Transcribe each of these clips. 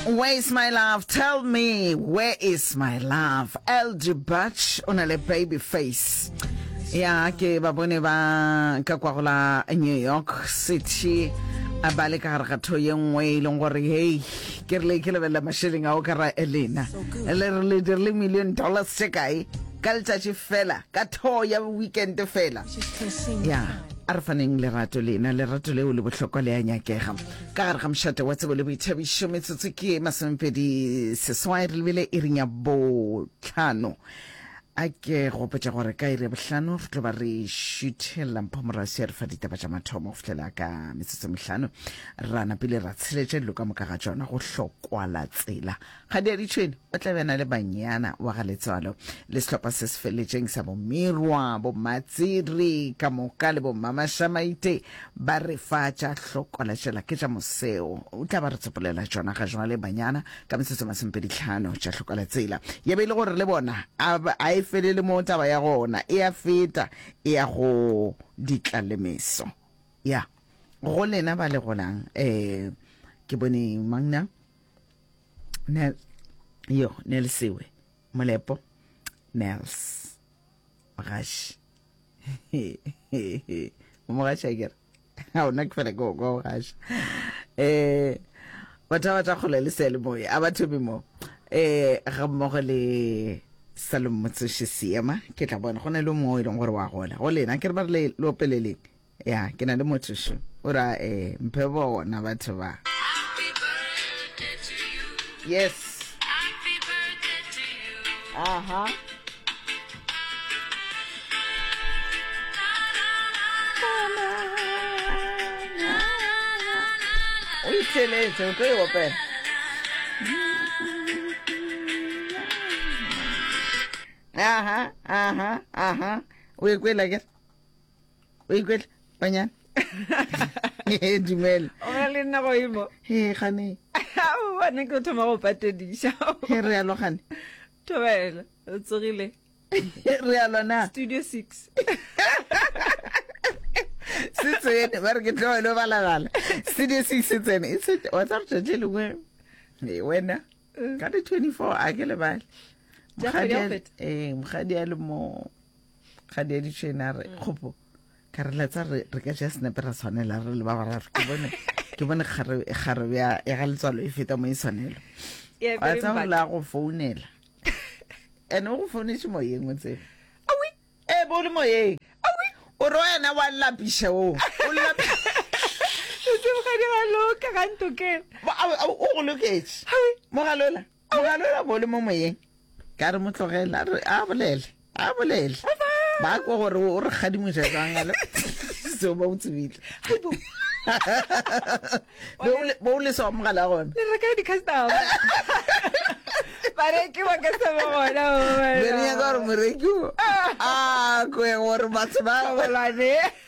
Where is my love? Tell me, where is my love? LG Butch o na le baby face. Ya ke ba bone ba ka kwa go la New York City a ba le ka gare ga tho ye nngwe e leng gore hei ke rile ke lebelela mašeleng ao ka ra elena le re le dirile million dollars tše kae ka letšatši fela ka tho ya weekend fela ya a re faneng lerato lena lerato leo le bohlokwa le a nyakega Ka gare ga mošate wa tsebo le boithabišo, metsotso ke masomepedi seswai re lebile iring ya bohlano. A ke gopotša gore ka iri ya bohlano re tlo ba re šuthela Mpho Morasi ya re fa ditaba tša mathomo go fihlela ka metsotso e mehlano ra napile ra tsheletša dilo ka moka ga tšona go hlokwala tsela. Kgadi ya Ditšhwene o tla be a na le banyana wa ga Letswalo le sehlopha se se feletšeng sa boMirwa, boMatsiri ka moka le boMmamašamaite ba re fa tša hlokola tšela ke tša moseo. O tla ba re tsopolela tšona ga jwale banyana ka metsotso masomepeditlhano tša hlokola tsela. Ya be e le gore le bona a a e felele mo taba ya gona e a feta e ya go ditlalemeso. Ya go lena ba le golang eh ke bone mang na? Nel, yo Nelsiwe Molepo Nels Mogaši Mogaši a kere a ona ke fela ke o kwa mogaši eh batho ba tla kgole le seyalemoya a ba thome mo eh ga mmogo le Salom Motsoši Seema ke tla bona go na le mongwe o e leng gore wa gola go lena ke re ba re le opeleleng Ya, ke na le motho šo. O ra eh mphe bona batho ba. Yes. Aha. O itheletše, o tlo e opela. Aha, aha, aha. O e kwela ke? O ikwele banyana dumela o na le nna goimo he gane bane ke thoma go patediša he re alo gane thobela o tsogile re alo na studio 6 se tsene ba re ke tloele balabala studio 6 se tsene e se wa tsa re tšatši lengwe e wena ka di 24 a ke lebale mokgadi a le mo ga di ditšhene a re mm. kgopo ka re letsa re re ka ja senepe ra tshwanela re le ba bararo ke bone ke bone kgare kgare ya ya ga letswalo e feta mo e tshwanelo wa tsa go la go founela ene o go founetse moyeng o tsebe ee bo le moyeng o re wena wa lapiša o o o go loketše mogalola mogalola bo le mo moyeng Ka re mo tlogela, a re a bolele, a bolele. Ba kwa gore o re kgadimoša jwang a le seo ba o tsebile. Bo o lesa wa mogala gona. Le reka di-customer. Bareki ba ka se ba gona. Be re nyaka gore moreki o a kwe gore batho ba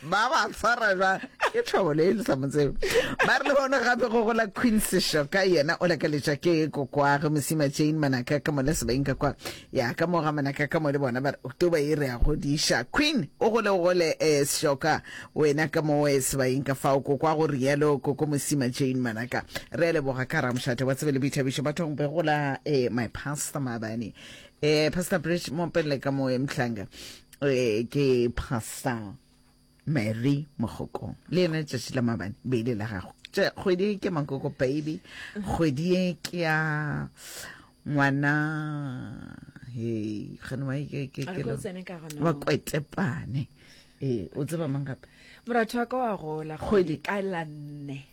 ba ba tshwara jwang. Ke tlhobolo e le sa mo tsebe. Ba re le bona gape go gola Queen Seshoka yena o lakaletša ke kokwage Mosima Jane Manaka ka mole sebeng ka kwa ya ka mo ga Manaka ka mo le bona ba re October e re a godiša Queen o gole o gole eh, Seshoka wena ka mo eh, sebaeng ka fao kokwa go rialo koko Mosima Jane Manaka re a leboga ka ramošate wa tsebe le boithabišo bathong be gola eh, my pastor maabane eh, pastor Bridge mo pele ka mo eh, Mhlanga eh, ke pastor Mary Mogokong le yena letšatši la maabane be ile la gago tše kgwedi e ke makoko baby kgwedi e ke ya ngwana hei gane wa ke ke ke wa kwetepane ee o tseba mang gape moratho wa ka wa gola kgwedi ka la nne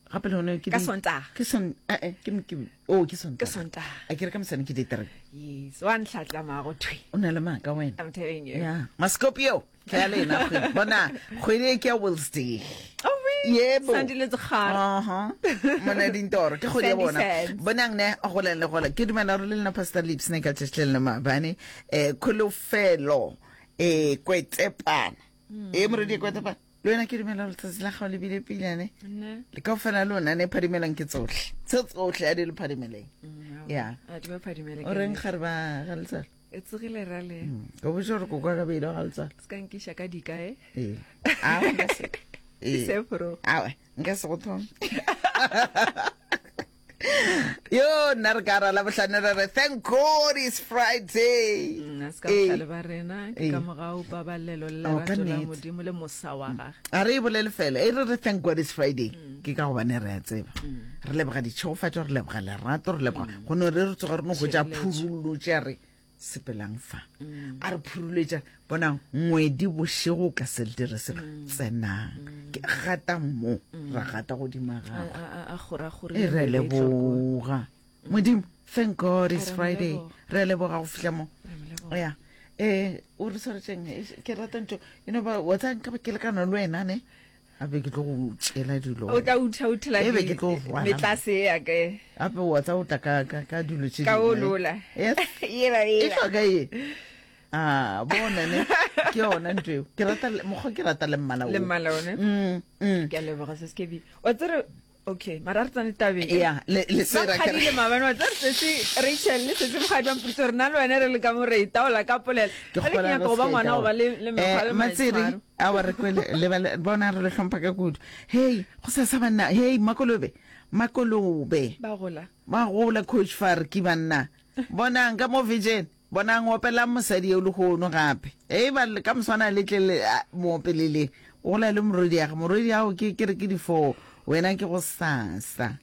gape le gone ke ka sontaga ke son eh eh ke ke oh ke sontaga ke sontaga a ke re ka mosane ke di three yes wa ntlhatlama go thwe o na le maaka wena i'm telling you yeah mascopio ke ya lena kgwedi bona kgwedi e ke ya Wednesday oh yebo Sandile Tsekgara aha mona dintoro ke kgwedi ya Sandy bona Sands. bonang ne go le gola ke dumela gore le lena pastor lips ne ka tšatši le lena maabane eh kholofelo eh kwetepana e moredi kwetepana Le wena ke dumela gore letsatsi la gago le bile pilane le ka fela lona ne phadimelang ke tsotlhe tse tsotlhe a di le phadimeleng mm, ya o reng gare ba ga letsalo e tsogile ra le mm, o botse gore koko ka beile ga letsalo se ka nkiša ka dika e ee a nka se ee awe nka se go thome. Yo nna re ka ra la bohlano re re thank God it's Friday. Mm, a se ka bohlale ba rena ke ka mogau pabalelo le Oh, ka lerato la nnete. modimo le mosa wa gage A re e bolele fela e re re thank God it's Friday ke ka gobane re a tseba. Re leboga ditšhegofatšo, re leboga lerato, re leboga go no re re tsoga re no hwetša Tšhireletšo. phurulotše re sepelang fa a re phuruletša bonang ngwedi bošego o ka se le dire selo tsenang ke gata mo ra gata godima A- gagwe a- a- a kgorakgorile e re mebetlo kua. leboga modimo thank god it's Re mo friday leboga. re a leboga go fihla mo Re mo leboga. ya um o re swaretšeng Eh, ke rata ntho you know ba wa tsaya nka ba ke lekana le wena ne Gape ke tlo go tšela dilo. O tla uthauthela E be ke tlo rwala. Metlase ya ka. Gape wa tsa o tla ka ka ka dilo tše Ka olola. Yes. Yela yela. E hloka ye. Ah, bona ne. Ke yona ntho eo. Ke rata mokgwa ke rata le mmala o. Le mmala one. Mm. mm. Ke a leboga se se ke Wa tsere okay mara re tsane tabeng ya le le se ra kgadile maabane wa tsere sese Rachel le sese mogadi wa mpotsa gore nna le wena re le ka mo re itaola ka polelo ke ke nyaka go ba ngwana go ba le le mekgwa le eh, matsiri a wa re kwele le ba bona re le hlompha ka kudu hey go sa sa banna hey makolobe makolobe ba gola ba gola coach far ke banna bonang ka mo vision bonang opelang mosadi eo lehono gape e ba ka moswana le tle le mo opelele o gola le morwedi ya morwedi ao ke ke re ke di four wena ke go sasa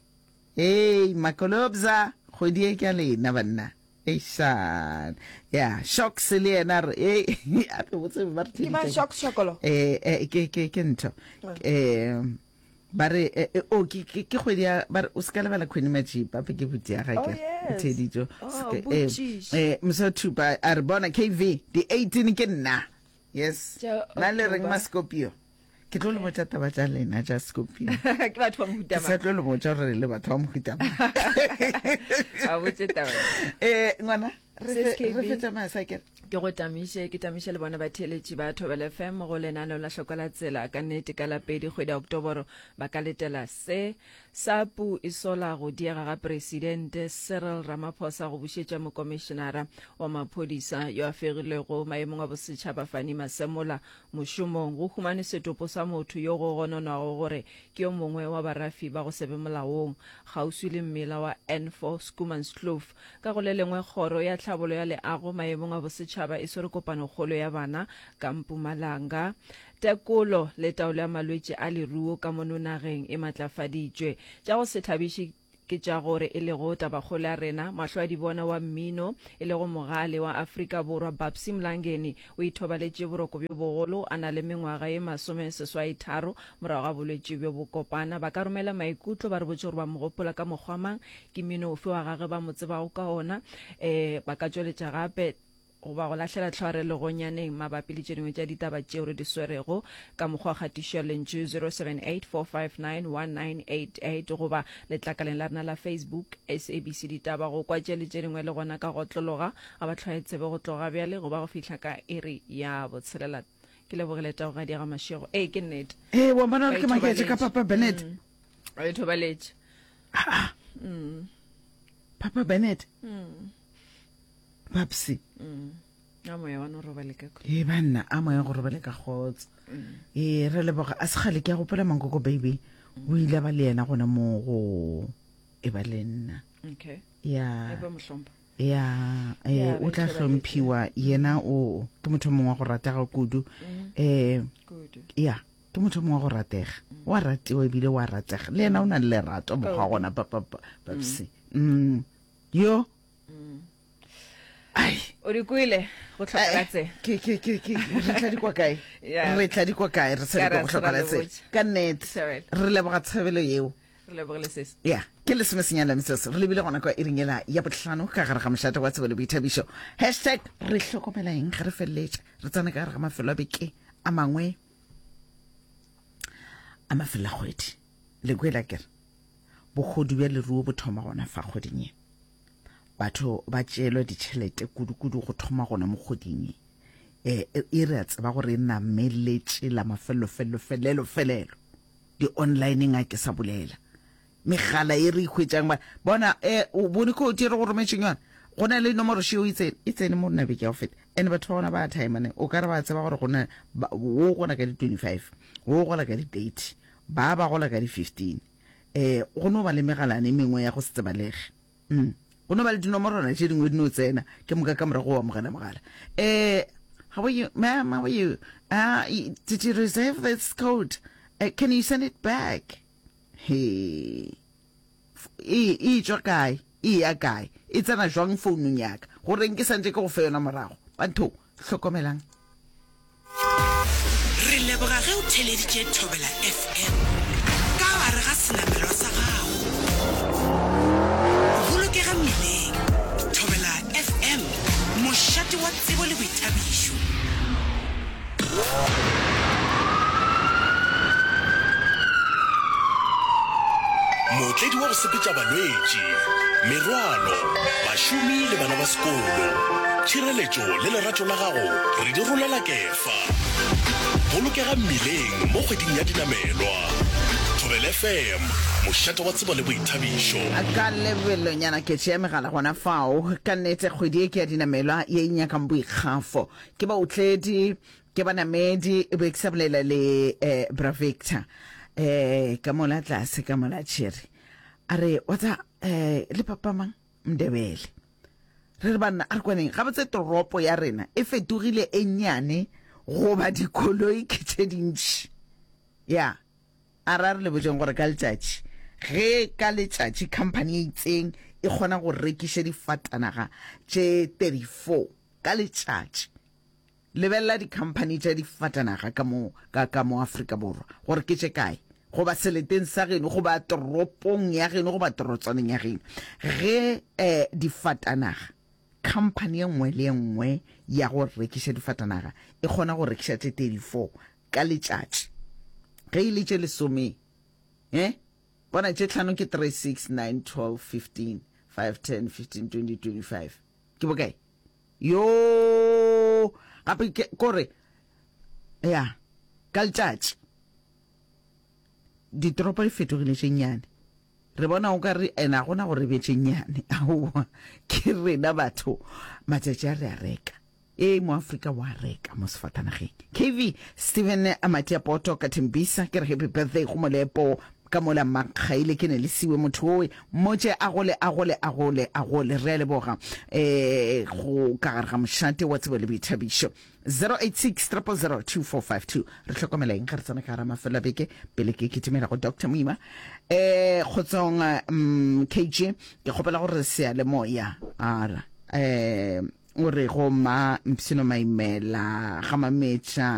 hey makolobza kgwedi e ke a lena banna Eišan. Ya, Shocks le yena re, ei, ape botse ba re Ke mang Shocks Shokolo? Eh, eh, ke ke ke ntho. Eh, ba re eh, eh, oh, ke ke ke kgwedi ya ba re o se ka lebala Queen Majipa ape ke buti ya Oh, gake. yes. Theditšo. Oh, Se ke- eh, botšiša. eh, Moswa Thupa a re bona KV di 18 ke nna. Yes. Tša Na le reng October. ma Scorpio? Ke tlo le botša taba tša lena tša Scorpio. Ke batho ba mohuta Ke sa mang? tlo le botša gore le batho ba mohuta mang. A botše taba. Eh, ngwana, re Sis fe- KB. re fetša masa ke re. Ke go tamiše, ke tamiše le bona batheeletši ba Thobela FM go lenaneo la Hloka la Tsela. Ka nnete ka la pedi kgwedi ya Oktoboro ba ka letela se. SAPU e sola go diega ga Presidente Cyril Ramaphosa go bušetša Mokomišenara wa Maphodisa yo a fegilwego maemong a bosetšhaba Fannie Masemola Mošomong go humanwe setopo sa motho yo go gononwago gore ke yo mongwe wa barafi ba go se be molaong kgauswi le mmila wa N4 Schoemanskloof. Ka go le lengwe, Kgoro ya Tlhabolo ya Leago maemong a bosetšhaba e swere kopanokgolo ya bana ka Mpumalanga. Tekolo le taolo ya malwetši a leruo ka mono nageng e matlafaditšwe. Tša go se thabiše ke tša gore e lego tabakgolo ya rena, mahlwadibona wa mmino e lego mogale wa Afrika Borwa Babsy Mlangeni o ithobaletše boroko bjo bogolo a na le mengwaga ye masomeseswaitharo morago ga bolwetši bjo bokopana. Ba ka romela maikutlo ba re botše gore ba mo gopola ka mokgwa mang, ke mmino ofe wa gagwe ba mo tsebago ka ona. Um ba ka tšweletša gape goba go lahlela tlhware legonyaneng mabapi le tše dingwe tša ditaba tšeo re di swerego ka mokgwa wa kgatišo ya lentšu 0784591988 goba letlakaleng la rena la Facebook SABC Ditaba go kwa tše le tše dingwe le gona ka go otlologa ga ba tlhwaye tsebe go tloga bjale go ba go fihla ka iri ya botshelela. Ke lebogile Taugadi ya ga Mashego. Ee, ke nnete. Ee, wa bona gore ke maketše ka Papa Bennett. Mm. Ba ithobaletše. Ah, ah. Mm. Papa Bennett. Mm. Babsy. Mm. A moya wa no robale ka khutšo. Ee banna, a moya go robale ka kgotso. Mm. Ee, re leboga a segale ke a gopola mankoko baby. O ile ba le yena gona mo go e ba le nna. Okay. Ya. E ba mohlompha. Ya, eh o tla hlomphiwa yena o ke motho mongwe wa go ratega kudu. Mm. Eh kudu. Ya, ke motho mongwe wa go ratega. Mm. Wa ratiwa ebile wa ratega. Le yena o na le lerato mokgwa gona papa Babsy. Mm. Yo ai o di kwele go hloka la tsela ke ke ke ke re tla di kwa kae Yeah. re tla di kwa kae re sa di kwa go hloka la tsela ka nnete Thabela. re leboga tshebelo yeo re lebogile sesi ya ke lesomesenyane la metsotso re lebile gona kwa iring ela ya bohlano ka gare ga mošate wa tsebo le boithabišo hashtag re hlokomela eng ge re feleletša re tsena ka gare ga mafelo a beke a mangwe a mafelo a kgwedi le kwela kere Bohodu bja leruo bo thoma gona fa kgweding ye. Batho ba tšeelwa ditšhelete kudu-kudu go thoma gona mo kgweding ye. E, e re a tseba gore e nameletše la mafelelo felelo felelo felelo. Di-onlineng a ke sa bolela. Megala e re e hwetšang ba bona e o bone code e re go rometšeng yona. Go na le nomoro šeo e tsene e tsene mo rena beke ya go feta. And batho ba gona ba timer ne. O ka re ba tseba gore go na wo gola ka di 25, wo gola ka di 30, ba ba gola ka di 15. Eh, go no ba le megalana e mengwe ya go se tsebalege. Mm. Go no ba le dinomorwana tše dingwe di no tsena, ke moka ka morago o amogela mogala. Eh, how are you, ma'am, how are you? Uh, did you reserve this code? Uh, can you send it back? He. E, e tšwa kae? E ya kae? E tsena jwang founung ya ka? Goreng ke santše ke go fe yona morago? Batho, hlokomelang. Re leboga ge o theleditše Thobela FM ka gare ga senamelwa sa gago. Bolokega mmileng. Thobela FM, mošate wa tsebo le boithabišo. Mootledi wa go sepetša balwetši, merwalo, bašomi le bana ba sekolo. Tšhireletšo le lerato la gago re di rolela kefa. Bolokega mmileng mo kgweding ya dinamelwa. Thobela FM, mošate wa tsebo le boithabišo. Ka lebelonyana ke tšea megala gona fao. Ka nnete kgwedi ye ke ya dinamelwa ye e nyakang boikgafo. Ke baotledi Ke banamedi, e be ke sa bolela le eh, Bra Victor eh, ka mola tlase ka mola tšhere. A re, wa tsa eh, le papa mang? Mndebele. Re re banna, a re kwaneng, gabotse toropo ya rena e fetogile e nnyane goba dikoloi ke tše dintši. Ya, a re a re le botšeng gore ka letšatši, ge ka letšatši company e itseng e kgona go rekiša difatanaga tše 34 ka letšatši, Lebelela dikhamphani tša difatanaga ka mo, ka, ka mo Afrika Borwa, gore ke tše kae, goba seleteng sa geno, goba toropong ya geno, goba torotswaneng ya geno. Ge eh, difatanaga, khamphani ye nngwe le ye nngwe ya go rekiša difatanaga e kgona go rekiša tše 34 ka letšatši, ge e le tše lesome, eh, bona tše tlhano ke 3, 6, 9, 12, 15, 5, 10, 15, 20, 25. Ke bokae? Yoo, gape ke kore ya ka letšatši ditoropo di fetogile tše nnyane. Re bona o ka re ena gona gore be tše nnyane. Aowa, ke rena batho matšatši a re a reka. Ee, mo Afrika wa reka mo sefatanageng. KV Steven Amatia Poto ka Tembisa ke re happy birthday go Molepo ka mola Makgaile ke ne le siwe motho owe mmotše a gole a gole a gole a gole re a leboga eh go ka gare ga mošate wa tsebo le boithabišo 086 000 2452 re hlokomela eng ge re tsena ka gara mafelo a beke pele ke kitimela go Dr Moima eh kgotsong mm, KG ke kgopela gore seyalemoya ara eh o re go ma Mpsino Maimela ga Mametša.